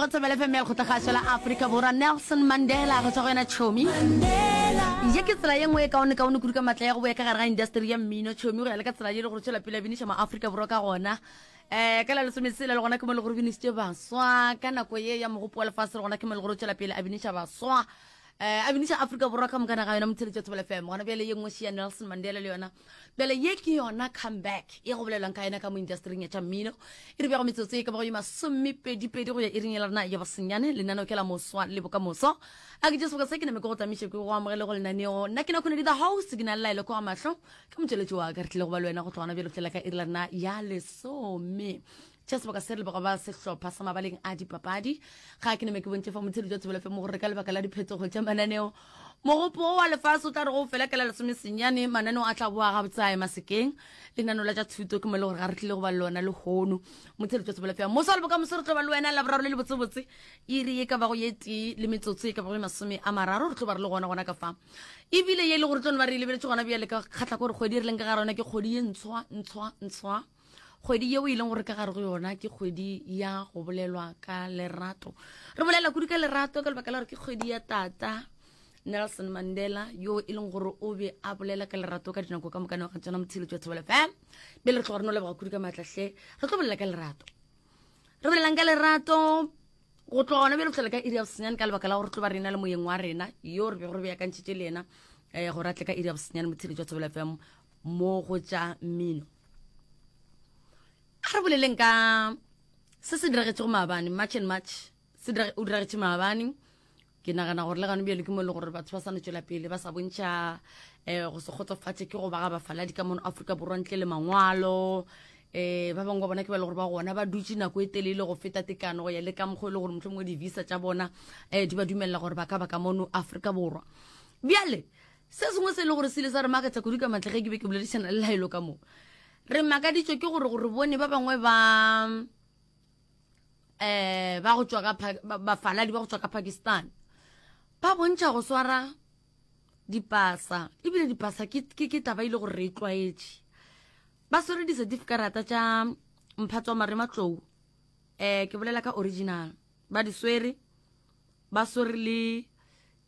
Go Thobela FM ya Lekgotlakgašo la Afrika Borwa, Nelson Mandela go tšwa go yena Chomi. Ye ke tsela ye nngwe e kaone kaone kudu ka matla ya go boya ka gare ga industry ya mmino Chomi go ya le ka tsela ye le gore tšwela pele a biniša ma-Afrika Borwa ka gona. Um ka la lesometshela le gona ke mo le gore binišitše baswa ka nako ye ya mogopo wa lefase le gona ke mo le gore tšwela pele a biniša baswa um a biniša Afrika Borwa ka mokana ga yona motheletši wa Thobela FM. Gona bjale ye nngwe še ya Nelson Mandela le yona Bjale ye ke yona comeback ye go bolelwang ka yona ka mo industering ya tša mmino. E re bjago metsotso e ka bago ye masomepedipedi go ya iring ya rena ya bosenyane. Lenaneo ke la moswa le bokamoso. A ke tše seboka se ke name ke go tamiše ke go amogele go lenaneo. Nna ke na Khonedi the host, ke na le Laelo kwa mahlo. Ke motšweletši wa ka re tlile go ba le wena go tloga gona bjale go fihlela ka iri la rena ya lesome. Tša seboka se re leboga ba sehlopha sa mabaleng a dipapadi. Ga ke name ke bontšhe fa motheletši wa Thobela FM gore ka lebaka la diphetogo tša mananeo mogopo wo wa lefase o tla re go fela ka la lesomesenyane mananeo a tla boa gabotse a ema sekeng. Lenaneo la tša thuto ke mo e le gore ga re tlile go ba le lona lehono. Motheletši wa Thobela FM moso wa le bokamoso re tlo ba le wena Laboraro le le botsebotse iri ye ka bago ye tee le metsotso e ka bago ye 30 re tlo ba re le gona gona ka fa. Ebile ye e le gore tlo no ba re e lebeletše gona bjale ka kgatla gore kgwedi e re leng ka gare yona ke kgwedi ye ntshwa ntshwa ntshwa. Kgwedi yeo e leng gore ka gare go yona ke kgwedi ya go bolelwa ka lerato. Re bolela kudu ka lerato ka lebaka la gore ke kgwedi ya tata Nelson Mandela yo e leng gore o be a bolela ka lerato ka dinako ka moka ga tsona motheletši wa Thobela FM. Bjale re tloga re no leboga kudu ka maatla hle. Re tlo bolela ka lerato. Re bolelang ka lerato go tloga gona bjale go fihlela ka iri ya bosenyane ka lebaka la gore tlo ba rena le moyeng wa rena yo re bego re beakantšhitše le yena um gore a tle ka iri ya bosenyane motheletši wa Thobela FM mo go tša mmino. A re boleleng ka se se diragetšego maabane, March and March se o diragetše maabane. Ke nagana gore le gane bjale ke mo e le gore batho ba sa no tšwela pele ba sa bontšha um go se kgotsofatše ke go ba ga bafaladi ka mono Afrika Borwa ntle le mangwalo. Um ba bangwe ba bona ke ba e le gore ba gona ba dutše nako e telele go feta tekano go ya le ka mokgwa e le gore mohlomongwe di-visa tša bona um di ba dumelela gore ba ka ba ka mono Afrika Borwa. Bjale Se sengwe se e le gore se ile sa re makatša kudu ka matla ge ke be ke boledišana le Laelo ka mo. Re makaditšwe ke gore gore bone ba bangwe ba eh ba go tšwa ka bafaladi ba go tšwa ka Pakistan ba bontšha go swara dipasa ebile dipasa ke ke ke taba ile gore re e tlwaetše ba swere di-certificarata tša mphatso wa marematlou eh ke bolela ka original ba di swere ba swere le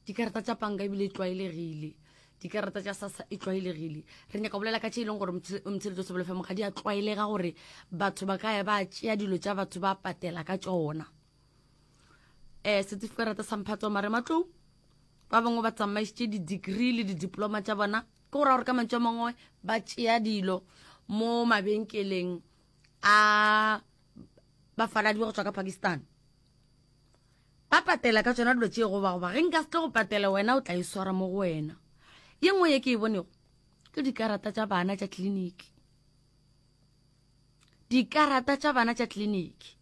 Dikarata tša panka ebile e tlwaelegile. Dikarata tša SASSA e tlwaelegile. Re nyaka go bolela ka tše e leng gore Mtsheletso Sebele FM ga di a tlwaelega gore batho ba ka ya ba tšea dilo tša batho ba patela ka tšona. Um setifikarata sa mphato wa marematlou ba bangwe ba tsamaišitše di-degree le di-diploma tša bona ke go raya gore ka mantšu a mangwe ba tšea dilo mo mabenkeleng a bafaladi ba go tšwa ka Pakistan. Ba patela ka tšona dilo tše goba goba ge nka se tlo go patela wena o tla e swara mo go wena. Ye nngwe ye ke e bonego ke dikarata tša bana tša tleliniki. Dikarata tša bana tša tleliniki.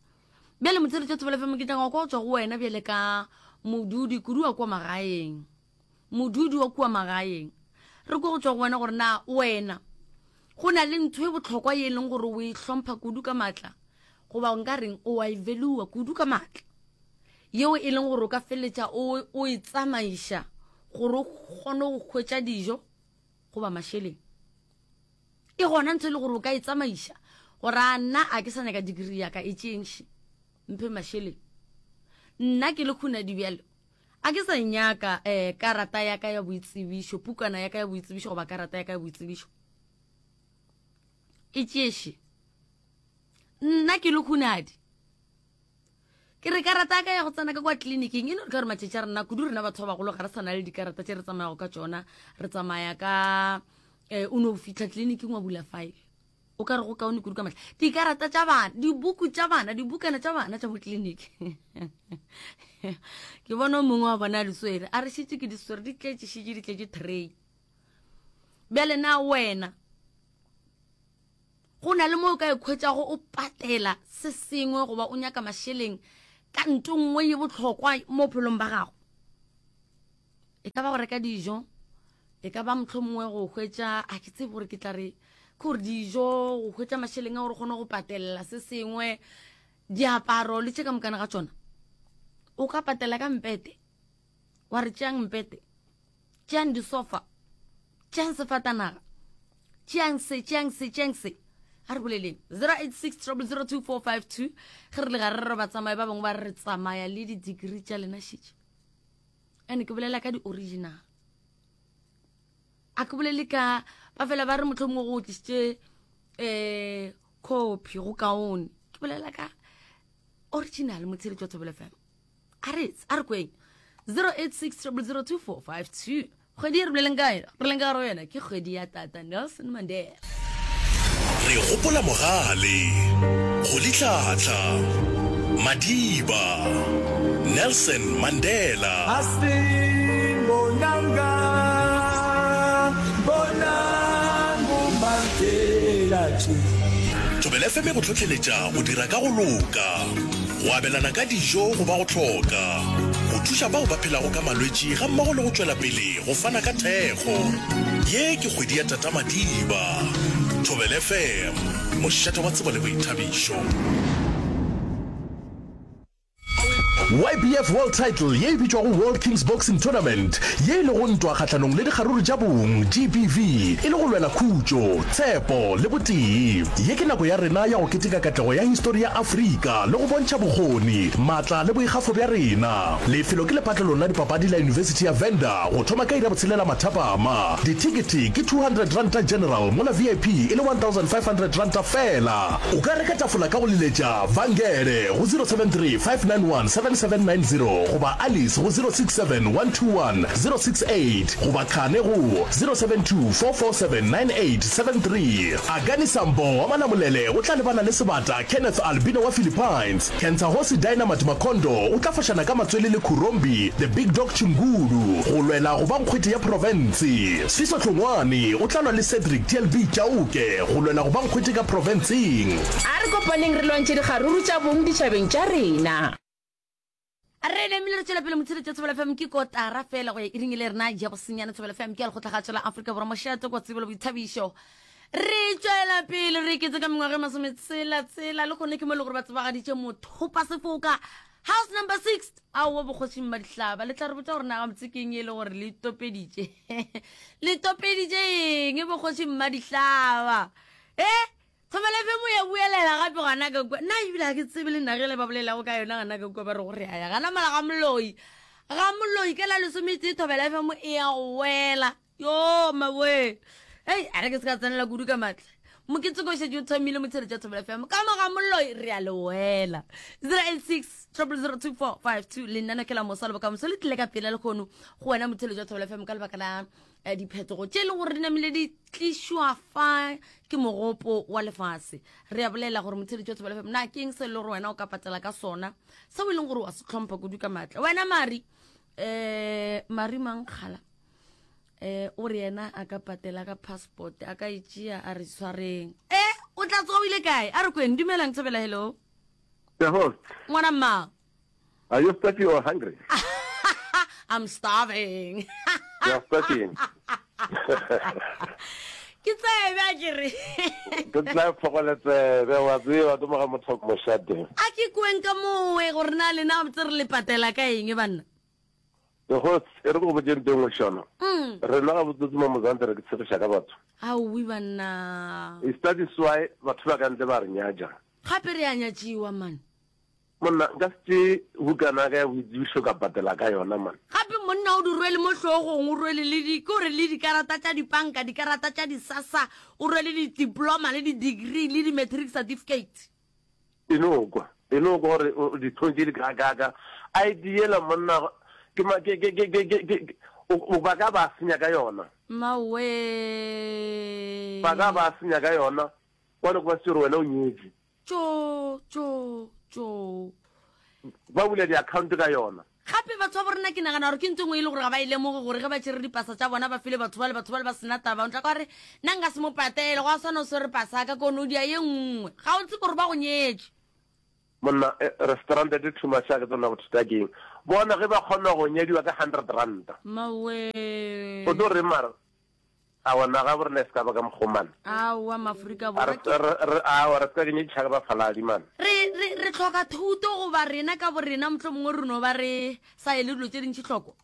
Bjale motsheletši wa Thobela FM ke tla kwa go tšwa go wena bjale ka modudi kudu wa kua magaeng. Modudi wa kua magaeng. Re kwa go tšwa go wena gore na wena go na le ntho e bohlokwa ye e leng gore o e hlompha kudu ka matla goba nka reng o a e valua kudu ka matla yeo e leng gore o ka feleletša o, o e tsamaiša gore o kgone go hwetša dijo goba mašeleng. E gona ntho e le gore o ka e tsamaiša gore a nna a ke sa nyaka degree ya ka e tšeeng še mphe mašeleng. Nna ke le Khunadi bjalo a ke sa nyaka um karata ya ka ya boitsebišo, pukana ya ka ya boitsebišo goba karata ya ka ya boitsebišo e tšee še. Nna ke le Khunadi Ke re karata ya ka ya go tsena ka kwa tleliniking e no re ka gore matšatši a rena kudu rena batho ba bagolo ga re sa na le dikarata tše re tsamayago ka tšona re tsamaya ka um o no fitlha tleliniking wa bula file o ka re go kaone kudu ka matla dikarata tša bana dibuku tša bana dibukana tša bana tša mo tleliniki ke bona o mongwe wa bona a di swere a re šetše ke di swere di tletše šetše di tletše tray bjale na wena Go na le mo o ka ikhwetšago o patela se sengwe goba o nyaka mašeleng ka nto nngwe ye bohlokwa mo bophelong ba gago. E ka ba go reka dijo, e ka ba mohlomongwe go hwetša, a ke tsebe gore ke tla re ke gore dijo, go hwetša mašeleng a gore o kgone go patelela se sengwe, diaparo le tše ka mokana ga tšona. O ka patela ka mpete, wa re tšeang mpete, tšeang disofa, tšeang sefatanaga, tšeang se, tšeang se, tšeang se. A re boleleng 086 0002452 ge re le gare re re batsamaya ba bangwe ba re re tsamaya le di-degree tša lena šetše. Ene ke bolela ka di-original. A ke bolele ka ba fela ba re motlho mongwe go tlisitše um copy go kaone. Ke bolela ka original motsheletši wa Thobela FM. A re a re kweng 086 0002452 kgwedi e re boleleng ka yona re leng ka gare go yona ke kgwedi ya tata Nelson Mandela. Re gopola mogale, Rolihlahla, Madiba, Nelson Mandela. Asimbonanga, bonang uMandela nje. Thobela FM e go hlohleletša go dira ka go loka, go abelana ka dijo go ba go hloka, go thuša bao ba phelago ka malwetši gammogo le go tšwela pele go fana ka thekgo. Ye ke kgwedi ya Tata Madiba. Thobela FM, mošate wa tsebo le boithabišo. YBF World Title ye e bitšwago World Kings Boxing Tournament, ye e lego ntwa kgahlanong le dikgaruru tša bong, GBV, e le go lwela khutšo, tshepo le botee. Ye ke nako ya rena ya go keteka katlego ya histori ya Afrika le go bontšha bokgoni, maatla le boikgafo bja rena. Lefelo ke lepatlelong la dipapadi la Yunibesithi ya Venda go thoma ka iri ya botshelela mathapama. Dithekete ke R200 General mola VIP e le R1500 feela. O ka reka tafola ka go leletša Vangele go 073 591 7790 goba Alice go 067 121 068 goba Khane go 072 447 9873. Akani Sambo wa Malamulele o tla lebana le sebata Kenneth Albino wa Philippines. Kentsahosi Dynamite Makondo o tla fošana ka matswele le Khurombi The Big Dog Chingulu go lwela go ba nkgwete ya profense. Sfiso Hlongwane o tla lwa le Cedric TLB Chauke go lwela go ba nkgwete ka profenseng. A re kopaneng re lwantšhe dikgaruru tša bong ditšhabeng tša rena. Re namile re tšwela pele motsheletša Thobela FM ke kotara fela go ya iring e le rena ja bosenyane Thobela FM ke ya lekgotlakgatšo la Afrika Borwa mošate kwa tsebo le boithabišo. Re tšwela pele re iketse ka mengwaga e masometshela tshela le gone ke mo e le gore ba tsebagaditše mothopa sefoka house number 6 aowa bokgošing ba dihlaba le tla re botša gore na gabotse ke eng e le gore le topeditše le topeditše eng bokgošing ba dihlaba e Thobela FM ya buelela gape gona ka kua. Nna ebile ga ke tsebe le nna ge le ba bolelago ka yona gona ka kua ba re go re ya gana mala ga moloi. Ga moloi ka la lesometee Thobela FM e ya go wela. Yo maboe. Hei, a re ke se ka tsenela kudu ka matla. Moketeko o šetše o thomile motsheletša Thobela FM. Ka mo ga moloi re a le wela. 086 0002452 le nna ke la mosa le bokamoso le tlile ka pela lehono go wena motheletši wa Thobela FM ka lebaka la eh, diphetogo tše e leng gore di namile di tlišwa fa ke mogopo wa lefase re a bolela gore motheletši wa Thobela FM na ke eng se e le gore wena o ka patela ka sona seo e leng gore wa se tlhompha kudu ka maatla wena mari um mari mankgala um o re yena a ka patela ka passport a ka e tšea a re tshwareng e o tla tsoga o ile kae a re kweng dumelang thobela hello The host. Ngwana mma. Are you thirsty or hungry? I'm starving. You are starving. Ke tsebe a ke re. Ke tla phogole tsebe wa tseba ke moga motho moshate. A ke kweng ka mowe gore na lena botse re le patela ka eng banna. The host e re go botse ntho e nngwe shona. Mm. Rena ga botsotsi mo Mozambique re ke tshegiša ka batho. Aowi banna. Is that is why batho ba ka ntle ba re nyatša. Gape re a nyatšiwa man. Monna, nka se tšee bukana ya ka ya boitsebišo ka patela ka yona, man. Gape monna o di rwele mo hlogong, o rwele le di, ke gore le dikarata tša dipanka, dikarata tša di-SASSA, o rwele di-diploma le di-degree le di-matric certificate. E no kwa, e no kwa gore o dihlong tše di kaakaka. ID yela monna, ke ma, ke, ke, ke, ke, ke, ke, o, ba ka ba senya ka yona. Mmawe. Ba ka ba senya ka yona, wa no kwa se gore wena o nyetšwe. Tjo, tjo, tjo. Ba bula di-account ka yona. Gape batho ba bo rena ke nagana gore ke ntho e nngwe e le gore ga ba e lemoge gore ge ba tšere dipasa tša bona ba file batho bale, batho bale ba sena taba. O tla kwa re nna nka se mo patele, gwa swana o swere pasa ya ka ko no dia ye nngwe. Ga o tsebe gore ba go nyetše. Monna, restaurant di too much, ga ke tsebe na bothata ke eng. Bona ge ba kgona go nyadiwa ka hundred ranta. Mmawe. O tlo reng mara? Aowa, naga ya borena e se ka ba ka mokgwa o man. Aowa, Mafrika A Borwa re, ke. re, re, aowa, re se ka kenyetša ka bafaladi man. Re, re, re hloka thuto goba rena ka borena mohlomongwe re no ba re sa ele dilo tše dintši hloko?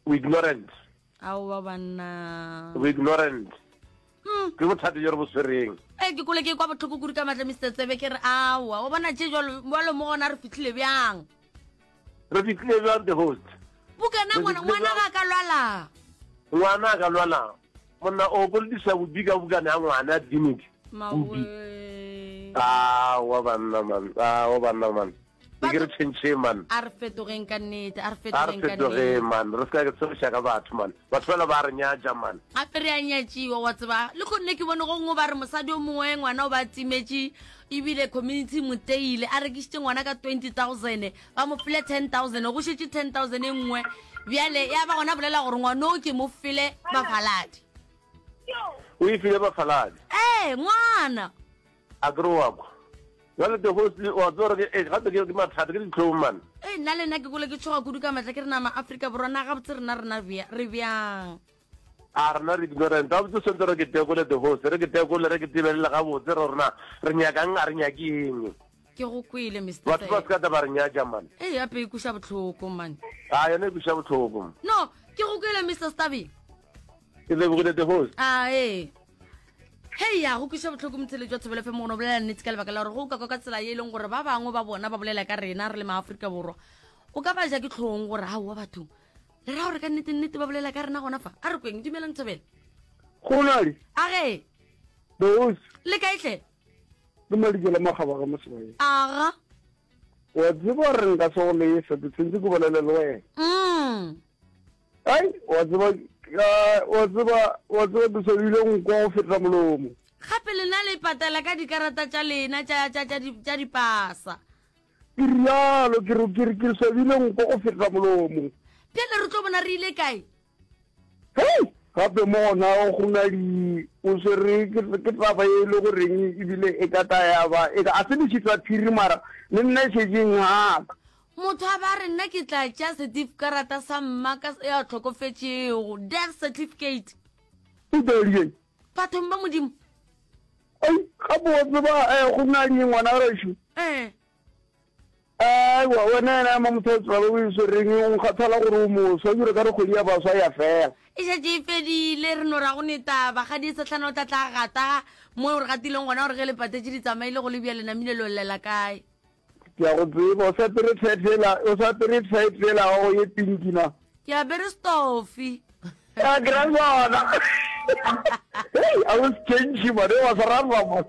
We ignorant. Aowa banna. We ignorant. Ke bothata bjo re bo swereng. Ee, ke kole ke kwa bohloko kudu ka matla Mister Tsebe ke re aowa o bona tše jalo jalo mo gona re fihlile bjang Re fihlile bjang the host? Bukana Re ngwana fihlile ngwana bjang? ga ka lwala Ngwana a ka lwala. Monna o kolodisa bobi ka bukana ya ngwana ya tleliniki. Mawe. Aowa banna man, aowa banna man. Ke ke re tšhentšheng man. A re fetogeng ka nnete, a re A re fetogeng ka fetogeng nnete. man, re se ka ke tshegiša ka batho man. Batho bale ba re nyatša man. Gape re a nyatšiwa wa tseba. Le kgonne ke bone go nngwe ba re mosadi o mongwe ngwana o ba timetše ebile community e mo teile a rekišitše ngwana ka 20000 ba mo file 10000 go šetše 10000 e nngwe bjale ya ba gona bolela gore ngwana o ke mo file bafaladi. O e file bafaladi. Ee, ngwana. A ke re wa kwa. Jwale the host wa tseba gore ke eh, gape ke ke mathata ke ditlhong man. Ee, nna le nna ke kole ke tšhoga kudu ka matla ke re nama Afrika Borwa na gabotse rena rena re bjang. A rena re ignorant. Gabotse swantse re ke tekole the host, re ke tekole re ke tebelele gabotse re rena re nyakang a re nyake eng. Ke go kwele Mister Batho ba se ka tla ba re nyatša man. Ee, gape e kweša bohloko man. A yona e kweša bohloko. No, ke go kwele Mister Stabby. Ke lebogile the host. A ee. Hei ya go kweša bohloko motheletši wa Thobela FM gona o bolela nnete ka lebaka la gore go ka kwa ka tsela ye e leng gore ba bangwe ba bona ba bolela ka rena re le maafrika borwa o ka ba ja ke tlhong gore aowa bathong le ra gore ka nnete nnete ba bolela ka rena gona fa a re kweng dumelang Thobela Gonadi. A ge. Boss. Le kae hle? Ke Madikela Makgaba ga Mosebanyeng. Aga. Wa tseba gore nka se go lesa ke tshwentse ke bolele le wena. Mm. Ai, wa tseba, wa tseba, wa tseba ke swabile nko go feta molomo. Gape lena le patela ka dikarata tša lena tša, tša, tša, tša dipasa. Ke rialo, ke re, ke re, ke swabile nko go feta molomo. Bjale re tlo bona re ile kae? Hei, gape mo gona go na di, o swere ke, ke taba e le goreng ebile e ka tla ya ba, e ka, a se lešitla phiri mara le nna e šetše e ngaka. Motho a ba re nna ke tla tšea setifikarata sa mma ka ya hlokofetšego, death certificate. O tla Bathong ba Modimo. Ai, gape wa tseba eh, go na le ngwana gešo. Eh. Aiwa, wena yena ema motho wa tseba o e swereng o nkgathala gore o moswa jure ka re kgwedi ya baswa ya fela. E šetše e fedile, re no ra go ne taba. Kgadi e sehlana o tla tla gata mo re gatileng gona gore ge le patetše di tsamaile go le bjale namile lo llela kae. Ke a go tseba, o sa apere tight yela, o sa apere tight yela ya gago ye pinki na? Ke apere stofi. A ke ra sona. Hey, a o change man, wa sa rara man.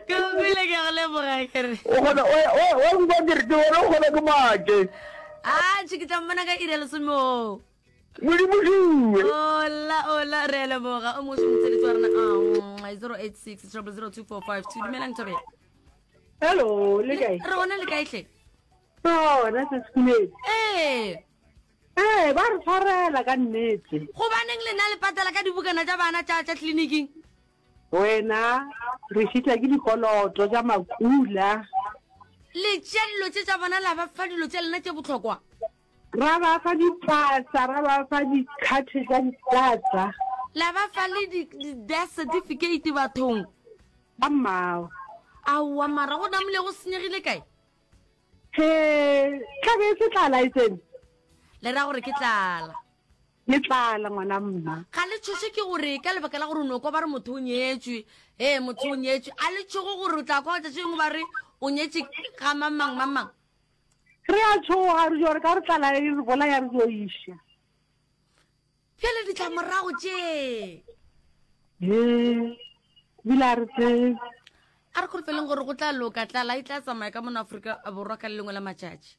Ke go kwele ke go leboga ke re. O kgona o o o nka ke re ke bona o kgona ke make. Ah, tšhe ke tla mmona ka iri ya lesome o. Modimo šuwe. Ola ola re a leboga o mongwe motseletsi wa rena ah, 086 0002452 dumelang thobela. Hello, le kae? Re gona le kae hle? Gona se sekhumedi. Ee. Ee, ba re tshwarela ka nnete. Gobaneng lena le patela ka dibukana tša bana tša tša tleliniking? Wena re šitla ke dikoloto tša makula. Le tšea dilo tše tša bona la ba fa dilo tša lena tše bohlokwa. Ra ba fa dipasa, ra ba fa dikhathe tša ditlatsa. La ba fa le di-death certificate bathong. Ba mmao. Aowa mara go namile go senyegile kae? He, tlabe e se tlala e tsene. Le ra gore ke tlala. Ke tlala ngwana mma. Ga le tšhoše ke gore ka lebaka la gore o no kwa ba re motho o nyetšwe, ee motho o nyetšwe, a le tšhoge gore o tla kwa tšatši lengwe ba re o nyetše ga mang mang mang mang. Re a tšhoga re jo re ka re tlala e re bolaya re jo iša. Bjale ditlamorago tše. He, bile a re tsebe. A re kholofeleng gore go tla loka, tlala e tla tsamaya ka mono Afrika Borwa ka le lengwe la matšatši.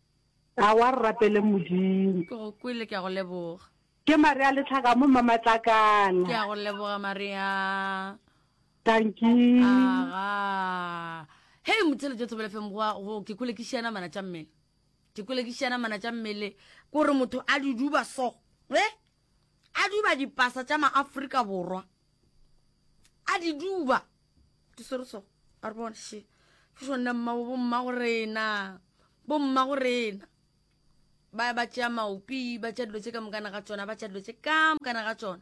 Aowa re rapeleng Modimo. Ke go kwele, ke a go leboga. Ke Maria Letlhaka mo Mmamatlakala. Ke a go leboga Maria. Dankie. Aga. Hei motheletši wa Thobela FM go go ke kwele ke šiana mana tša mmele. Ke kwele ke šiana mana tša mmele kore motho a di duba so. Eh? A duba dipasa tša maAfrika Borwa. A di duba. Di swere so. A re bone she. Ke sona mma bo mma go rena. Bo mma go rena. Ba ba tšea maopi, ba tšea dilo tše ka mokana ga tšona, ba tšea dilo tše ka mokana ga tšona.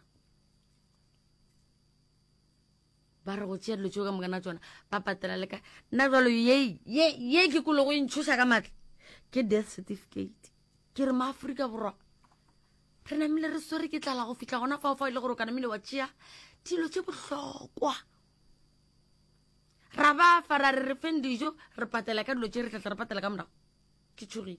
Ba re go tšea dilo tšeo ka mokana tsona ba patela le ka nna jalo ye ye ye ke kolo go e ntšhoša ka matla ke death certificate ke re maaforika borwa re namile re swere ke tlala go fihla gona fao fao e le gore o ka namile wa tšea dilo tše bohlokwa. Ra ba fa ra re re feng dijo, re patela ka dilo tše re tla tla re patela ka morago. Ke tšhogile.